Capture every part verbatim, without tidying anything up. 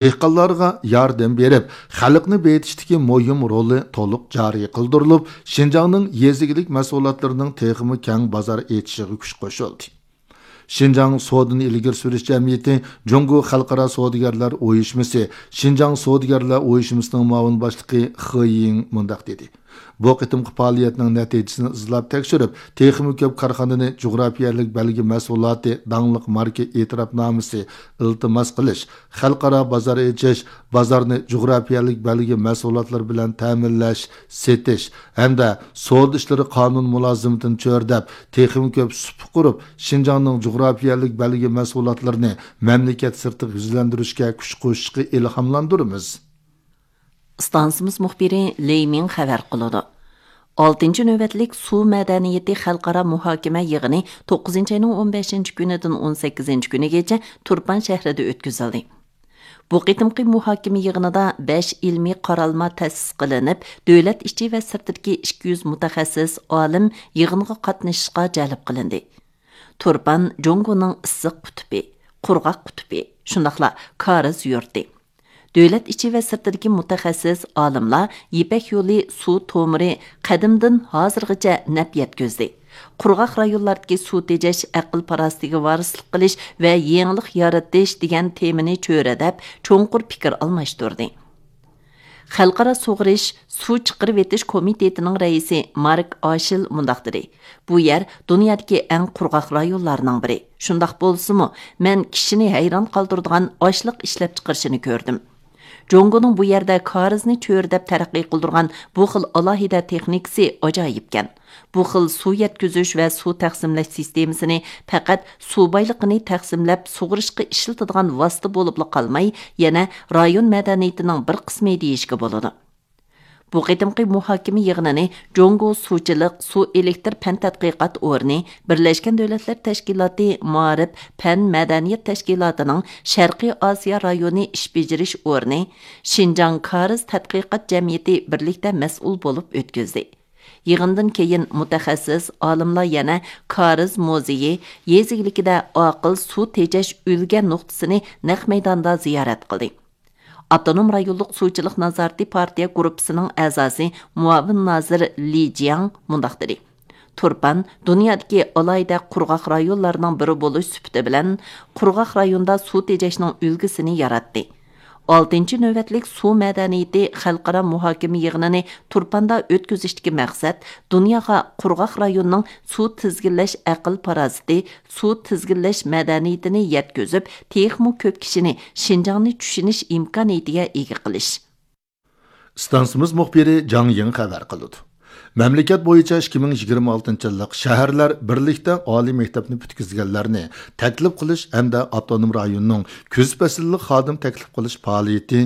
دېھقانلارغا ياردەم بېرىپ، خەلقنى بېيىتىشتىكى مۇھىم رولى تولۇق جارى قىلدۇرۇلۇپ، شىنجاڭنىڭ يېزا ئىگىلىك مەھسۇلاتلىرىنىڭ تېخىمۇ كەڭ بازار ئېچىشىغا كۈچ قوشۇلدى. شىنجاڭ سودىنى ئىلگىرى سۈرۈش جەمئىيىتى جۇڭگو خەلقئارا سودىگەرلەر ئۇيۇشمىسى شىنجاڭ سودىگەرلەر ئۇيۇشمىسىنىڭ مۇئاۋىن باشلىقى خې يىڭ مۇنداق دېدى: بۇ قېتىمقى پائالىيەتنىڭ نەتىجىسىنى ئىزدەپ تەكشۈرۈپ، تېخىمۇ كۆپ كارخانىنى جۇغراپىيەلىك بەلگە مەھسۇلاتى، داڭلىق ماركا ئېتىراپنامىسى ئىلتىماس قىلىش، خەلقئارا بازار ئېچىش، بازارنى جۇغراپىيەلىك بەلگە مەھسۇلاتلىرى بىلەن تەمىنلەش، سېتىش ھەمدە سودا ئىشلىرى قانۇن مۇلازىمىتىنى چۆرىدەپ، تېخىمۇ كۆپ سۇپا قۇرۇپ، شىنجاڭنىڭ جۇغراپىيەلىك بەلگە مەھسۇلاتلىرىنى مەملىكەت سىرتىغا يۈزلەندۈرۈشكە كۈچ قوشۇشقا ئىلھاملاندۇرىمىز. ئىستانسىمىز مۇخبىرى لېي مىڭ خەۋەر قىلىدۇ. ئالتىنچى نۆۋەتلىك سۇ مەدەنىيىتى خەلقئارا مۇھاكىمە يىغىنى توققۇزىنچى ئاينىڭ ئون بەشىنچى كۈنىدىن ئون سەككىزىنچى كۈنىگىچە تۇرپان شەھىرىدە ئۆتكۈزۈلدى. بۇ قېتىمقى مۇھاكىمە يىغىنىدا بەش ئىلمىي قارالما تەسىس قىلىنىپ، دۆلەت ئىچى ۋە سىرتىدىكى ئىككى يۈز مۇتەخەسسىس ئالىم يىغىنغا قاتنىشىشقا جەلپ قىلىندى. تۇرپان جۇڭگونىڭ ئىسسىق قۇتۇپى، قۇرغاق قۇتۇپى، شۇنداقلا كارىز يۇرتى. دۆلەت ئىچى ۋە سىرتىدىكى مۇتەخەسسىس ئالىملار يىپەك يولى سۇ تومۇرى قەدىمدىن ھازىرغىچە نەپ يەتكۈزدى، قۇرغاق رايونلاردىكى سۇ تېجەش، ئەقىل پاراسىتىگە ۋارىسلىق قىلىش ۋە يېڭىلىق يارىتىش دېگەن تېمىنى چۆرىدەپ، چوڭقۇر پىكىر ئالماشتۇردى. خەلقئارا سۇغىرىش، سۇ چىقىرىۋېتىش كومىتېتىنىڭ رەئىسى مارك ئاشىل مۇنداق دېدى: بۇ يەر دۇنيادىكى ئەڭ قۇرغاق رايونلارنىڭ بىرى. شۇنداق بولسىمۇ، مەن كىشىنى ھەيران قالدۇرىدىغان ئاشلىق ئىشلەپچىقىرىشىنى كۆردۈم. جۇڭگونىڭ بۇ يەردە كارىزنى چۆرىدەپ تەرەققىي قىلدۇرغان بۇ خىل ئالاھىدە تېخنىكىسى ئاجايىپكەن. بۇ خىل سۇ يەتكۈزۈش ۋە سۇ تەقسىملەش سىستېمىسىنى پەقەت سۇ بايلىقىنى تەقسىملەپ سۇغىرىشقا ئىشلىتىدىغان ۋاسىتە بولۇپلا قالماي، يەنە رايون مەدەنىيىتىنىڭ بىر قىسمى دېيىشكە بولىدۇ. بۇ قېتىمقى مۇھاكىمە يىغىنىنى جۇڭگو سۇچىلىق، سۇ ئېلېكتىر پەن تەتقىقات ئورنى، بىرلەشكەن دۆلەتلەر تەشكىلاتى مائارىپ پەن مەدەنىيەت تەشكىلاتىنىڭ شەرقىي ئاسىيا رايونى ئىش بېجىرىش ئورنى، شىنجاڭ كارىز تەتقىقات جەمئىيىتى بىرلىكتە مەسئۇل بولۇپ ئۆتكۈزدى. يىغىندىن كېيىن مۇتەخەسسىس ئالىملار يەنە كارىز مۇزېيى، يېزا ئىگىلىكىدە ئاقىل سۇ تېجەش ئۈلگە نۇقتىسىنى نەق مەيداندا زىيارەت قىلدى. ئاپتونوم رايونلۇق سۇچىلىق نازارىتى پارتىيە گۇرۇپپىسىنىڭ ئەزاسى، مۇئاۋىن نازىر لى جياڭ مۇنداق دېدى: تۇرپان دۇنيادىكى ئالاھىدە قۇرغاق رايونلارنىڭ بىرى بولۇش سۈپىتى بىلەن، قۇرغاق رايوندا سۇ تېجەشنىڭ ئۈلگىسىنى ياراتتى. ئالتىنچى نۆۋەتلىك سۇ مەدەنىيىتى خەلقئارا مۇھاكىمە يىغىنىنى تۇرپاندا ئۆتكۈزۈشتىكى مەقسەت دۇنياغا قۇرغاق رايوننىڭ سۇ تىزگىنلەش ئەقىل پاراسىتى، سۇ تىزگىنلەش مەدەنىيىتىنى يەتكۈزۈپ، تېخىمۇ كۆپ كىشىنى شىنجاڭنى چۈشىنىش ئىمكانىيىتىگە ئىگە قىلىش. ئىستانسىمىز مۇخبىرى جاڭ يىڭ خەۋەر قىلىدۇ. مەملىكەت بويىچە ئىككى مىڭ يىگىرمە ئالتىنچى يىللىق شەھەرلەر بىرلىكتە ئالىي مەكتەپنى پۈتكۈزگەنلەرنى تەكلىپ قىلىش ھەمدە ئاپتونوم رايوننىڭ كۈز پەسىللىك خادىم تەكلىپ قىلىش پائالىيىتى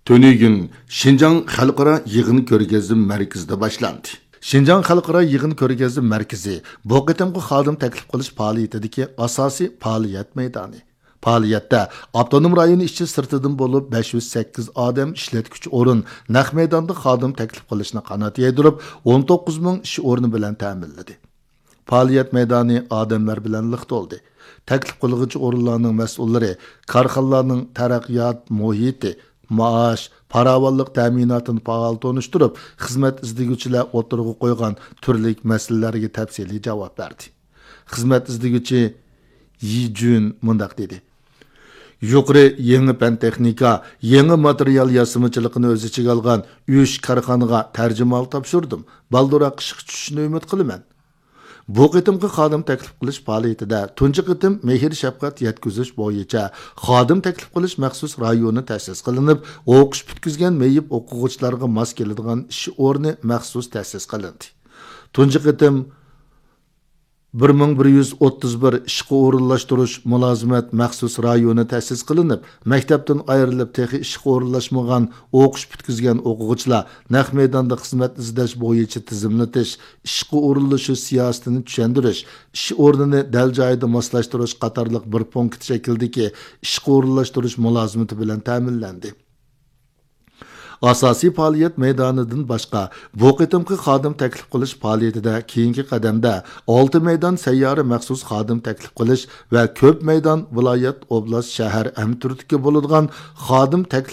تۈنۈگۈن شىنجاڭ خەلقئارا يىغىن كۆرگەزمە مەركىزىدە باشلاندى. شىنجاڭ خەلقئارا يىغىن كۆرگەزمە مەركىزى بۇ قېتىمقى خادىم تەكلىپ قىلىش پائالىيىتىدىكى ئاساسىي پائالىيەت مەيدانى. پائالىيەتتە ئاپتونوم رايون ئىچى سىرتىدىن بولۇپ بەش يۈز سەككىز ئادەم ئىشلەتكۈچى ئورۇن نەق مەيداندا خادىم تەكلىپ قىلىشنى قانات يايدۇرۇپ، ئون توققۇز مىڭ ئىش ئورنى بىلەن تەمىنلىدى. پائالىيەت مەيدانى ئادەملەر بىلەن لىق تولدى. تەكلىپ قىلغۇچى ئورۇنلارنىڭ مەسئۇللىرى كارخانىلارنىڭ تەرەققىيات مۇھىتى، مائاش، پاراۋانلىق تەمىناتىنى پائال تونۇشتۇرۇپ، خىزمەت ئىزدىگۈچىلەر ئوتتۇرىغا قويغان تۈرلۈك مەسىلىلەرگە تەپسىلىي جاۋاب بەردى. خىزمەت ئىزدىگۈچى يى جۈن مۇنداق دېدى: يۇقىرى يېڭى پەن تېخنىكا، يېڭى ماتېرىيال ياسىمىچىلىقىنى ئۆز ئىچىگە ئالغان ئۈچ كارخانىغا تەرجىمىھال تاپشۇردۇم. بالدۇرراق ئىشقا چۈشۈشىنى ئۈمىد قىلىمەن. بۇ قېتىمقى خادىم تەكلىپ قىلىش پائالىيىتىدە تۇنجى قېتىم مېھىر شەپقەت يەتكۈزۈش بويىچە خادىم تەكلىپ قىلىش مەخسۇس رايونى تەسىس قىلىنىپ، ئوقۇش پۈتكۈزگەن مېيىپ ئوقۇغۇچىلارغا ماس كېلىدىغان ئىش ئورنى مەخسۇس تەسىس قىلىندى. تۇنجى قېتىم بىر مىڭ بىر يۈز ئوتتۇز بىر ئىشقا ئورۇنلاشتۇرۇش مۇلازىمەت مەخسۇس رايونى تەسىس قىلىنىپ، مەكتەپتىن ئايرىلىپ تېخى ئىشقا ئورۇنلاشمىغان ئوقۇش پۈتكۈزگەن ئوقۇغۇچىلار نەق مەيداندا خىزمەت ئىزدەش بويىچە تىزىملىتىش، ئىشقا ئورۇنلىشىش سىياسىتىنى چۈشەندۈرۈش، ئىش ئورنىنى دەل جايىدا ماسلاشتۇرۇش قاتارلىق بىر پونكىت شەكلىدىكى ئىشقا ئورۇنلاشتۇرۇش مۇلازىمىتى بىلەن تەمىنلەندى. ئاساسىي پائالىيەت مەيدانىدىن باشقا، بۇ قېتىمقى خادىم تەكلىپ قىلىش پائالىيىتىدە كېيىنكى قەدەمدە ئالتە مەيدان سەييارە مەخسۇس خادىم تەكلىپ قىلىش ۋە كۆپ مەيدان ۋىلايەت، ئوبلاست، شەھەر ھەمتۈرتكە بولىدىغان خادىم تەكلىپ